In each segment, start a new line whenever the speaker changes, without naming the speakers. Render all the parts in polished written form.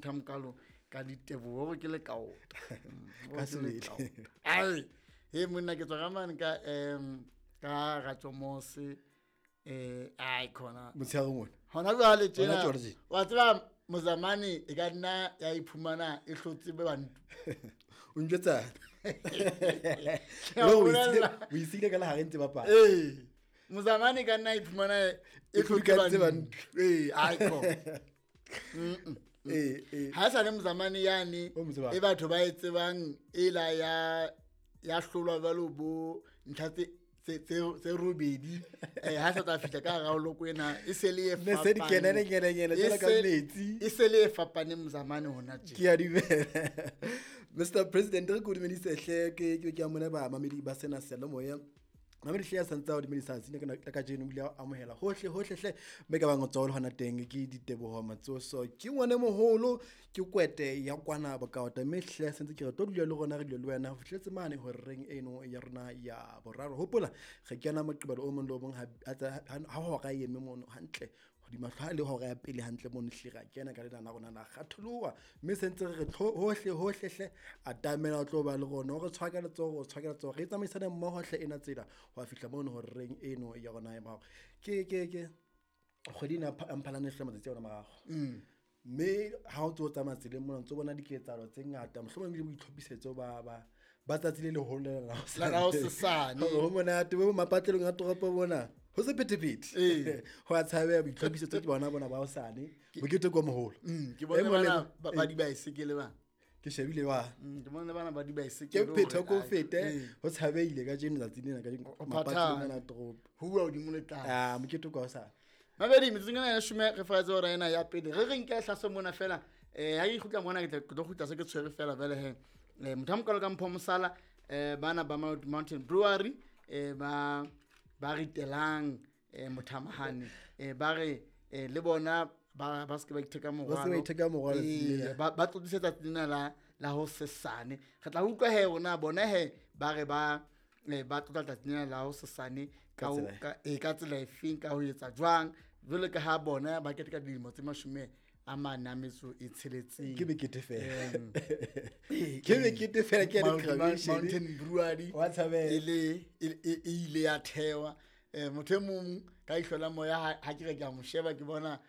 Motho a mokalo ka diteboho hore ke lekaota.
Ka sebele.
Ai, he monna ke tswa ka mane ka ka Ratjomose ai khona.
Motshehare mona.
Hona jwale tjena.
Hona jwale tjena.
Wa tseba Mozamane e ka nna ya iphumana e hlotse be bantu.
O njwetsa.
Ke a
O
bolella.
isile ka lehare ntse bapala.
Ee. Mozamane e ka nna iphumana e
E
hlotse
hlotse
bantu. Ee, ai kho.
Ee.
Ha sa le Mozamane yane
O mo tsebang.
e batho ba e tsebang e la ya hlolwa jwalo bo ntlha tse robedi. Ha sa tla fihla ka hara loko ena e se le e
Ne se di
fapaneng.
kenele, kene, kene,
E
jwalo ka
se-
metsi.
E se le e fapaneng Mozamane hona tje.
Ke a dumela. Mr President, re ko dumedise hle, ke a mona ba mamedi ba sena seyalemoya. Mamedi hle ya santse a o dumedisa tsatsi lena la kajeno, o ile a amohela hohle, hohle hle. Mme ka bang o tswa le hona teng ke Diteboho Matsoso. Ke ngwana moholo, ke kwete ya kwana Bokaota. Mme hle sentse ke re tlo dula le rona, re dule le wena ho fihletse mane horeng eno ya rona ya boraro. Hopola, re kena Moqebelo o mong le o mong ha hora e eme mono hantle. Hodima hlooho le hora ya pele hantle mono hle ra kena ka lena la rona la kgatholoha. Mme sentse re re hohle, hohle hle, atamela o tlo ba le rona. O re tshwara ka letsoho, o tshwara ka letsoho. Re tsamaisane mmoho hle ena tsela ho ya fihla mono horeng eno ya rona ya boraro. Ke kgwedi ena ya Mphalane hle matsatsi a yona mararo. Mme ha o ntso o tsamaya tseleng mona, o ntso bona diketsahalo tse ngata, mohlomong ebile boitlhophisetso ba tsatsi le leholo lena la hosane.
La hosasane.
Hore ho monate, bo mapatlelong a toropo mona. Ho sephethephethe.
Ee.
Ho a tshabeha boitlhophisetso ke bona bona ba hosane. Mokete ke o moholo.
Ke bone
E mong le
bana
mong.
ba dibaesekele ba.
Ke shebile wa.
Ke bone bana ba dibaesekele
Ke phetho
hore
ko
ai,
fete,
ee.
ho tshabehile kajeno tsatsi lena, kajeno
O
mapatlelong
phathane.
ana a toropo.
Ho bua hodimo le tlase.
Ah, mokete ke wa hosane.
Mabedi, metsotsong ena ya leshome re faraetse hora ena ya pele. Re re nke hlaso mona fela. Ha ke kgutla mona, ke tlo kgutla se ke tshwere fela jwale he. Motho a mokalo ka Mpho Mosala, bana ba Mountain Brewery, ba ritelang, mothamahane. Ba re, le bona ba se ke ba itheka
Ba se ke ba itheka morwalo
Ee,
tsela.
ba tlotlisetsa tsena la ho sesane. Re tla utlwa he rona bona he ba re ba tlotla tsatsi lena la ho sesane
Ka tsela e.
ka tsela efeng, ka ho etsa jwang. Jwalo ka ha bona ba keteka dilemo tse mashome a mane a metso e tsheletseng.
Ke mekete fela.
Ee,
Ke mekete fela, ke ya di-graduation.
Mountain Brewery
Wa tshabeha.
e ile ya thewa. Motho e mong ka ihlo la moya ha ke re ke a mo sheba, ke bona,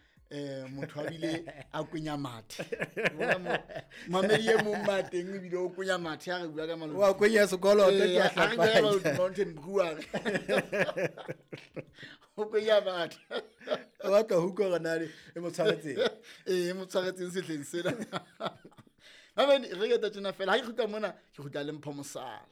motho a bile a kwenya mathe. Ke bona mamedi e mong mateng ebile o kwenya mathe ha re bua ka Maluti.
Wa kwenya sekoloto,
Ee,
ke a
ha re bua ka
hlapanya.
Maluti Mountain Brewery. O kwenya mathe.
O batla ho utlwa hore na e mo tshwaretseng.
Ee, e mo tshwaretseng sehleng sena. Mamedi, re ke tjena fela. Ha ke kgutla mona, ke kgutla le Mpho Mosala.